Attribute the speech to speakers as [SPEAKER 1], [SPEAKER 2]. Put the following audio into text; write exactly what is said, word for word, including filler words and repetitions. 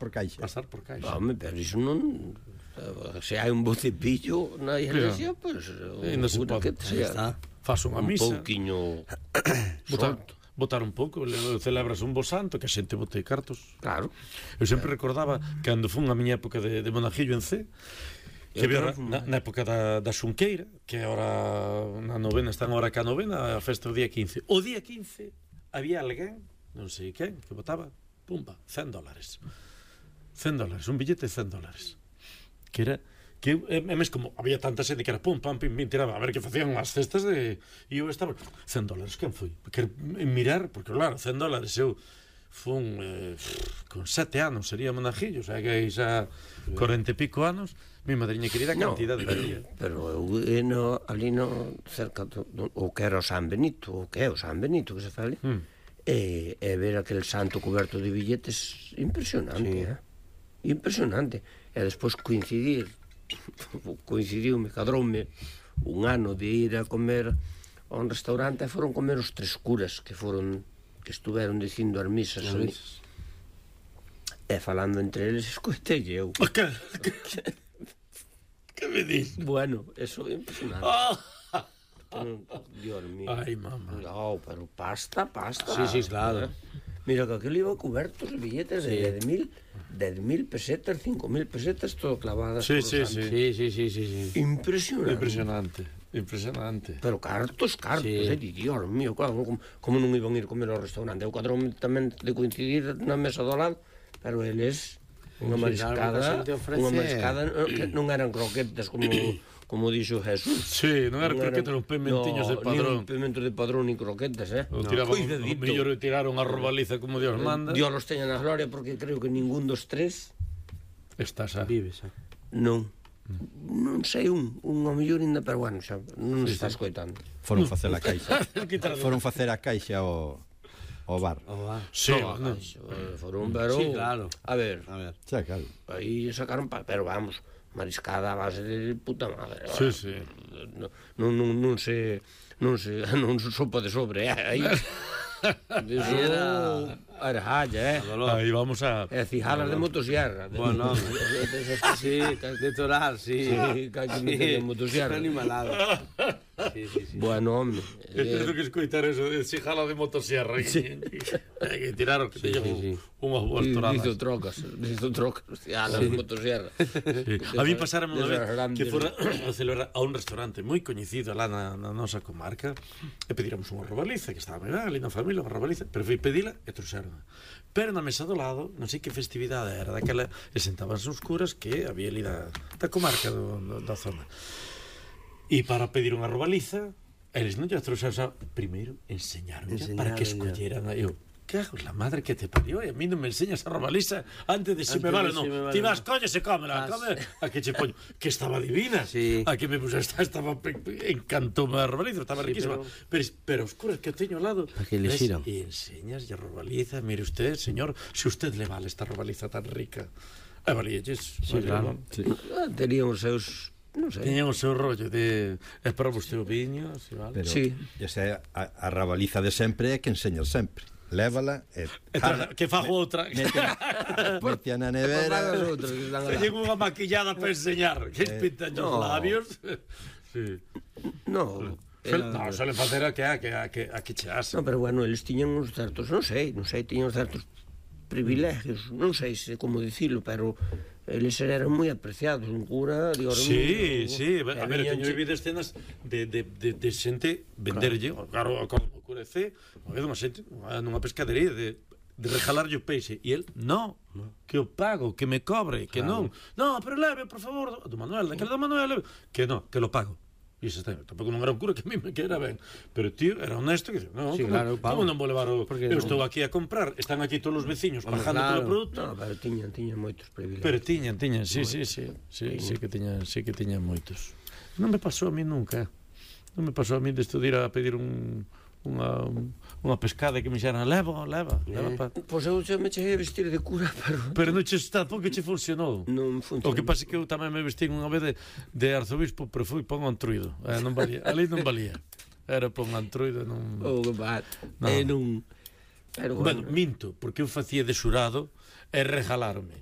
[SPEAKER 1] por caixa.
[SPEAKER 2] Pasar por caixa.
[SPEAKER 3] Home, pero iso non... Se hai un bo cepillo na iglesia, pois...
[SPEAKER 2] E non se pode.
[SPEAKER 3] Aí está.
[SPEAKER 2] Faz unha
[SPEAKER 3] Un
[SPEAKER 2] misa.
[SPEAKER 3] pouquiño...
[SPEAKER 2] Botar,
[SPEAKER 3] solto.
[SPEAKER 2] botar un pouco, le- celebras un bo santo, que a xente bote cartos.
[SPEAKER 3] Claro.
[SPEAKER 2] Eu sempre recordaba, cando fun a miña época de, de monajillo en C, que
[SPEAKER 3] Eu
[SPEAKER 2] había
[SPEAKER 3] tamén fun,
[SPEAKER 2] na, na época da, da Xunqueira, que ahora na novena, están ahora ca novena, a festa o día quince. O día quince había alguén, non sei quen, que botaba, pumba, cen dólares. cen dólares, un billete de cen dólares. Que era... que é mes como había tanta xente que era pum, pam, pim, pim, tiraba a ver que facían as cestas de... e eu estaba, cen dólares, quen foi? Porque mirar, porque claro, cen dólares eu fun eh, con sete anos sería monajillo, o sea que hai xa cuarenta e pico anos, mi madriña querida cantidad de día.
[SPEAKER 3] Pero eu eh, no, ali no cerca do, do, o que era o San Benito, o que é o San Benito que se fale,
[SPEAKER 2] Mm.
[SPEAKER 3] e, e ver aquel santo coberto de billetes impresionante,
[SPEAKER 4] Sí.
[SPEAKER 3] eh? Impresionante. E despois coincidir, coincidiume, cadroume un ano de ir a comer a un restaurante e foron comer os tres curas que foron que estuveron dicindo as misas ali. E falando entre eles, escoitelle eu.
[SPEAKER 2] Que, que, que me dis?
[SPEAKER 3] Bueno, eso é impresionante.
[SPEAKER 2] Oh.
[SPEAKER 3] Dios mío.
[SPEAKER 2] Ai, mamá.
[SPEAKER 3] No, pero pasta, pasta.
[SPEAKER 4] Sí, sí, claro.
[SPEAKER 3] Mira que aquilo iba cubertos de billetes de dez mil, dez mil pesetas, cinco mil pesetas, todo clavadas.
[SPEAKER 2] Sí,
[SPEAKER 3] por
[SPEAKER 2] sí,
[SPEAKER 3] los
[SPEAKER 2] sí.
[SPEAKER 3] años.
[SPEAKER 4] Sí, sí, sí, sí, sí.
[SPEAKER 3] Impresionante.
[SPEAKER 2] Impresionante, impresionante.
[SPEAKER 3] Pero cartos, cartos,
[SPEAKER 4] Sí.
[SPEAKER 3] eh, Dios mío, claro, como, como non iban ir comer ao restaurante? Eu cadrome tamén de coincidir na mesa do lado, pero eles unha
[SPEAKER 4] Sí,
[SPEAKER 3] mariscada,
[SPEAKER 4] claro, porque a xente ofrece-
[SPEAKER 3] unha mariscada eh, que non eran croquetas como como dixo Jesús.
[SPEAKER 2] Sí, non era croquetas, eran pimentiños de padrón.
[SPEAKER 3] Nin pimentos de padrón, nin croquetas, eh?
[SPEAKER 2] O tiraban, o
[SPEAKER 3] Cuidadito.
[SPEAKER 2] mellor tiraron a robaliza como Dios manda.
[SPEAKER 3] Dios los teña na gloria, porque creo que ningún dos tres
[SPEAKER 2] Estás a...
[SPEAKER 4] Vives, eh.
[SPEAKER 3] non. Non sei un, un ao mellor ainda, pero bueno, xa non se está escoitando.
[SPEAKER 1] Foron facer a caixa.
[SPEAKER 2] Quítalo.
[SPEAKER 1] Foron facer a caixa ao, ao bar.
[SPEAKER 4] Oh, va.
[SPEAKER 2] Sí,
[SPEAKER 3] No,
[SPEAKER 2] no.
[SPEAKER 3] Caixo, eh, foron, pero...
[SPEAKER 4] Sí, claro.
[SPEAKER 3] A ver,
[SPEAKER 4] A ver.
[SPEAKER 1] Xa, claro.
[SPEAKER 3] aí sacaron, pa, pero vamos, mariscada a base de puta madre.
[SPEAKER 2] Sí, sí.
[SPEAKER 3] Non, non, non se... Non se... Non se sopa de sobre, eh, aí... Eso
[SPEAKER 4] Era-
[SPEAKER 3] era halla, eh?
[SPEAKER 2] Aí vamos a...
[SPEAKER 3] E cijalas de motosierra.
[SPEAKER 4] Bueno, sí, de torar, sí.
[SPEAKER 3] Sí, que hai que meter en motosierra.
[SPEAKER 4] Animalado. Sí, sí, sí.
[SPEAKER 3] Bueno, home.
[SPEAKER 2] Tengo que escoitar eso de si jala de motosierra. Sí. Hai que tiraron que teñan
[SPEAKER 4] sí, sí.
[SPEAKER 2] unhas boas
[SPEAKER 3] Hizo
[SPEAKER 2] toradas.
[SPEAKER 3] trocas, hizo trocas, a la motosierra.
[SPEAKER 2] Sí. A mí pasáramos unha
[SPEAKER 3] Desas
[SPEAKER 2] vez
[SPEAKER 3] grandes-
[SPEAKER 2] que fora a celebrar a un restaurante moi coñecido lá na, na nosa comarca e pedíramos unha robaliza que estaba ben ali na familia, unha robaliza, pero fui pedila e trouxeron. Pero na mesa do lado, non sei que festividade era daquela, e sentabanse uns curas que había ali da, da comarca do, do, da zona. E para pedir unha robaliza, eles non lle trouxeron, xa, primeiro enseñaron para que
[SPEAKER 4] Enseñaron,
[SPEAKER 2] escolleran a eu. Cago en la madre que te parió, e a mí non me enseñas a robaliza antes de se
[SPEAKER 4] Antes
[SPEAKER 2] me
[SPEAKER 4] de
[SPEAKER 2] vale,
[SPEAKER 4] se
[SPEAKER 2] non.
[SPEAKER 4] me vale,
[SPEAKER 2] Ti vas,
[SPEAKER 4] no.
[SPEAKER 2] coño, se cómela,
[SPEAKER 4] Vas.
[SPEAKER 2] come, a que che poño, que estaba divina.
[SPEAKER 4] Sí.
[SPEAKER 2] A que me puse, esta, estaba pe- pe- encantoume a robaliza, estaba
[SPEAKER 4] Sí,
[SPEAKER 2] riquísima.
[SPEAKER 4] pero-
[SPEAKER 2] Pero, pero os curas que teño ao lado,
[SPEAKER 4] Para que
[SPEAKER 2] ves,
[SPEAKER 4] elixiran.
[SPEAKER 2] e enseñas a robaliza, mire usted, señor, se usted le vale esta robaliza tan rica. E valíalles.
[SPEAKER 4] Sí, claro.
[SPEAKER 1] Sí.
[SPEAKER 3] Ah, terían os seus, non sei.
[SPEAKER 2] Teñan o seu rollo de esperar vostede o viño, si vale.
[SPEAKER 1] Pero
[SPEAKER 3] Sí.
[SPEAKER 1] esa é a, a rabaliza de sempre é que enseñas sempre. Lévala e...
[SPEAKER 2] E tra- que fago outra.
[SPEAKER 1] Mete, mete na nevera...
[SPEAKER 3] As outras que están alá.
[SPEAKER 2] Teñen unha maquillada para enseñar. Que pintan os
[SPEAKER 3] no.
[SPEAKER 2] labios. Sí.
[SPEAKER 3] No,
[SPEAKER 2] Suel, no, suelen facer a que a que a que a que chease.
[SPEAKER 3] no, pero bueno, eles tiñan uns certos, non sei, non sei, tiñan uns certos privilegios, non sei se como dicilo, pero eles eran moi apreciados, un cura, digo,
[SPEAKER 2] Sí, sí, a ver, a ver,
[SPEAKER 3] viñan
[SPEAKER 2] teño vivido escenas de, de, de, de xente venderlle, claro, claro, o cura C, unha vez unha xente nunha pescadería de de regalarlle o peixe e el, no, que o pago, que me cobre, que non. No, pero leve, por favor, do Manuel, daquele do Manuel, leve. Que no, que lo pago. E iso está, tampouco non era un cura que a mí me quera ben, pero tío, era honesto que dice, no,
[SPEAKER 4] Sí,
[SPEAKER 2] como,
[SPEAKER 4] claro, eu pago.
[SPEAKER 2] como non vou levar o...
[SPEAKER 4] Porque
[SPEAKER 2] Eu
[SPEAKER 4] non?
[SPEAKER 2] estou aquí a comprar, están aquí todos os veciños
[SPEAKER 4] Hombre,
[SPEAKER 2] pagando
[SPEAKER 4] claro.
[SPEAKER 2] polo produto.
[SPEAKER 3] No, pero tiñan, tiñan moitos privilegios.
[SPEAKER 2] Pero tiñan, tiñan, sí, sí, sí, sí, sí que tiñan, sí que tiñan moitos. Non me pasou a mí nunca. Non me pasou a mí de ir a pedir un unha unha pescada que me xeran leva, leva, leva pa.
[SPEAKER 3] Pois eu xa me cheguei a vestir de cura, pero
[SPEAKER 2] Pero non che está, porque che funcionou.
[SPEAKER 3] non funcionou.
[SPEAKER 2] O que pasa é que eu tamén me vestín unha vez de, de arzobispo, pero fui pon antruido. Eh, non valía, ali non valía. Era pon antruido, non.
[SPEAKER 3] Oh, que bat.
[SPEAKER 2] No.
[SPEAKER 3] E non... Pero
[SPEAKER 2] Bueno,
[SPEAKER 3] bueno,
[SPEAKER 2] minto, porque eu facía de xurado e regalarme.